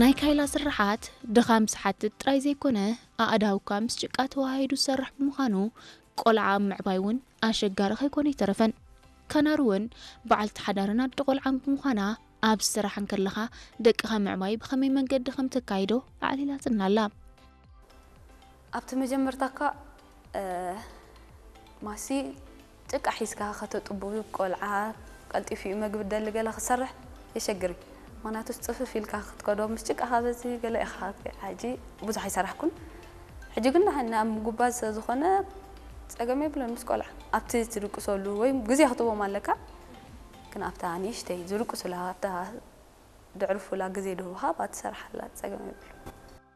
ናይ ካይላ ስርሓት ድኻም ዝሓትት ጥራይ ዘይኮነ፣ ኣእዳውካ ምስ ጭቃ ተዋሃሂዱ ዝሰርሕ ብምዃኑ፣ ቆልዓ ኣብ ምዕባይ እውን ኣሸጋሪ ከይኮነ ኣይተረፈን። ካናር እውን በዓልቲ ሓዳርን ኣደ ቆልዓን ብምዃና፣ ኣብ ስራሕ እንከለኻ ደቅኻ ምዕባይ ብኸመይ መንገዲ ከም ተካይዶ ኣዕሊላትና ኣላ። ኣብቲ መጀመርታ እኳ ማሲ ጭቃ ሒዝካ ከተጥቡ ቆልዓ ቀልጢፉ እዩ መግቢ ደሊ ገለ ክሰርሕ የሸግር እዩ። ምክንያቱ ጽፍፍ ኢልካ ክትከዶ ምስ ጭቃ ካበዚ ገለ ኢኻ። ሕጂ ብዙሕ ኣይሰራሕኩን። ሕጂ ግን ንሕና ኣብ ምጉባዝ ስለ ዝኾነ ጸገም የብለን ምስ ቆልዓ ኣብቲ ትድቅሰሉ ወይ ግዜ ክትቦም ኣለካ። ግን ኣብታ ንእሽተይ ዝድቅሱላ ኣብታ ድዕርፉላ ግዜ ድህብኻ ኣብኣ ትሰርሓላ ጸገም የብሉ።